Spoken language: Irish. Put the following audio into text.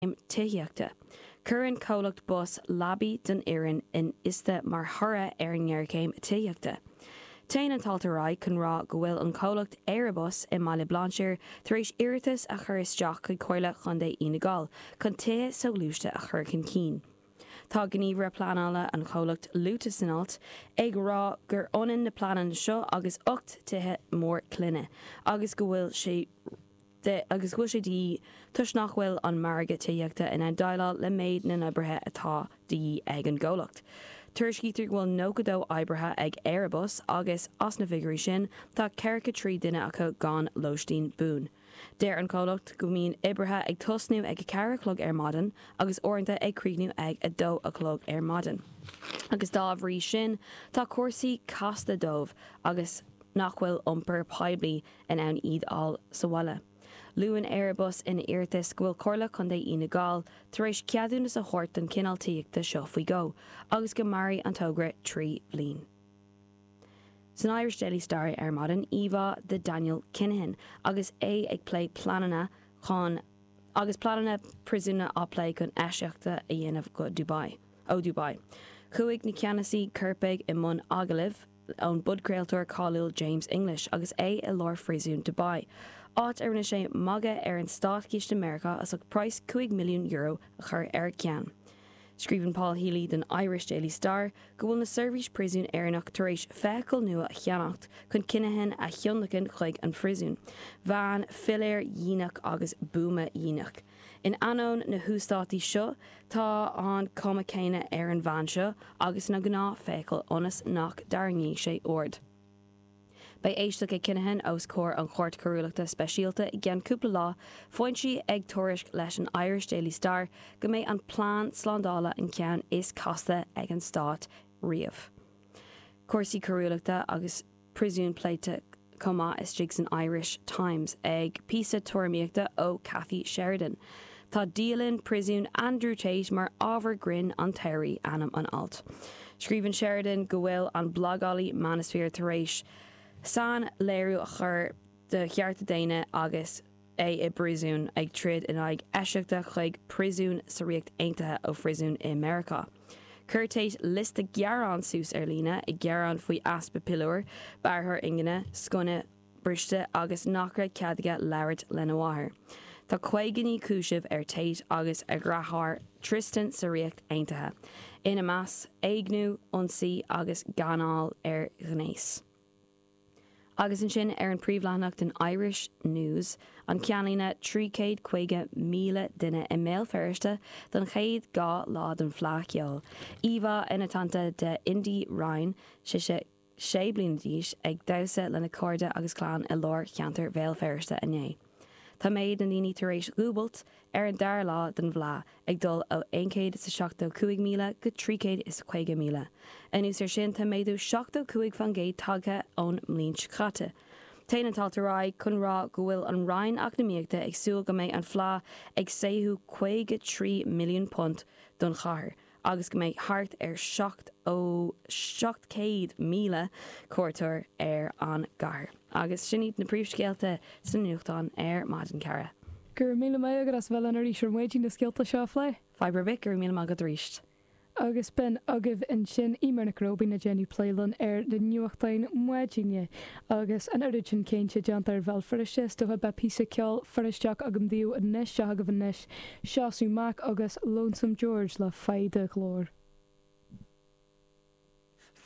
Tithíochta. Cuireann comhlacht bus leabaí don fhoireann in iosta mar thoradh ar an ngéarchéim tithíochta. Téann an t-alt ar aghaidh chun rá go bhfuil an comhlacht Éirebus i mBaile Bhlainséir tar éis iarratas a chur isteach chuig Comhairle Chontae Fhine Gall chun tithe soghluaiste a chur chun cinn. Tá gníomhaire pleanála an chomhlacht luaite san alt ag rá gur ionann na pleananna seo agus 8 tithe mór clainne agus go bhfuil sé de agus go bhfuil sé de dhíth toisc nach bhfuil an margadh tithíochta in ann déileáil le méid na n-oibrithe atá de dhíth ag an gcomhlacht. Tuairiscítear go bhfuil 92 oibrithe ag Éirebus agus, as na figiúirí sin, tá 43 duine acu gan lóistín buan. Deir an comhlacht go mbíonn oibrithe ag tosnú ag 4 a chlog ar maidin agus uaireanta ag críochnú ag 2 a chlog ar maidin agus dá bhrí sin tá cúrsaí casta dóibh agus nach bhfuil iompar poiblí in ann iad a fháil sa bhaile. Luann Éirebus ina iarratas go bhfuil Comhairle Contae Fhine Gall tar éis ceadúnas a thabhairt don chineál tithíochta seo faoi dhó agus go mairfidh an togra 3 bhliain. San Irish Daily Star ar maidin, íomhá de Daniel Kinahan agus é ag plé pleananna chun agus pleananna príosúin á plé chun eisiata a dhéanamh go Dubai ó Dubai. Chuaigh na ceannasaí coirpigh i mbun agallaimh. ón bpodchraoltóir cáiliúil James English agus é i lár phríosún Dubai, áit a rinne sé magadh ar an státchiste Meiriceá as ucht praghas €5 milliún a chur ar a cheann. Scríobhann Paul Healy don Irish Daily Star go bhfuil na seirbhís príosún Éireannach tar éis feithicil nua a cheannacht chun Kinahan a thionlacan chuig an phríosún, veain philéar dhíonach agus buama dhíonach. In ainneoin na huasdátaí seo, tá an cuma céanna ar an veain seo agus na gnáth-feithicil ionas nach dtarraingíonn sé aird. Beidh éisteacht ag Kinahan os comhair an Chúirt Choiriúlachta Speisialta i gceann cúpla lá, foinsí ag tuairisc leis an Irish Daily Star go mbeidh an plean slándála an ceann is casta ag an stát riamh. Cúrsaí coiriúlachta agus. príosún pléite chomh maith istigh san Irish Times ag píosa tuairimíochta ó Cathy Sheridan. Tá dialann príosúin Andrew Tate mar ábhar grinn an tsamhraidh, ainm an ailt. Scríobhann Sheridan go bhfuil an blagálaí Manosphere tar éis sain-léiriú a chur de chearta daonna agus é i bpríosún, ag troid in aghaidh eisiata chuig príosún sa Ríocht Aontaithe ó phríosún i Meiriceá. Chuir Tate liosta gearán suas ar líne, ag gearán faoi easpa piliúr, bearrthóir ingne, sconsa briste agus nach raibh cead aige labhairt lena mháthair. Tá 59 cúiseamh ar Tate agus a dheartháir Tristan sa Ríocht Aontaithe, ina measc, éigniú, ionsaí agus gáinneáil ar ghnéas. Agus ansin ar an príomhleathanach den Irish News, an ceannlíne 350,000 duine i mBéal Feirste don chéad 2 lá den Fleadh Cheoil. Íomhá ina teannta de Indi Ryan, sise 6 bliana d'aois, ag damhsa lena cairde agus clann i lár cheantar Bhéal Feirste inné. Tá méid na ndaoine tar éis dhúbailt ar an dara lá den bhFleadh, ag dul ó 175,000 go 350,000. Anuas air sin, tá méadú 75% tagtha ón mbliain seo caite. Téann an t-alt ar aghaidh chun rá go bhfuil an Roinn Eacnamaíochta ag súil go mbeidh an Fleadh ag saothrú £53 milliún don chathair agus go mbeidh thart ar 700,000 cuairteoir ar an gcathair. Agus sin iad na príomhscéalta sna nuachtáin ar maidin, Cara. Go raibh míle maith agat as a bheith linn arís ar maidin na scéalta seo a phlé. Fadhb ar bith, go raibh míle maith agat arís. Agus b'in agaibh ansin Eimear Nic Róibín ag déanamh plé linn ar na nuachtáin maidine. Agus an oiread sin cainte déanta ar Bhéal Feirste, is dócha beidh píosa ceoil Feirsteach agam daoibh anois, seo agaibh anois Seosamh Mac agus Lonesome George le Faigh Do Ghlór.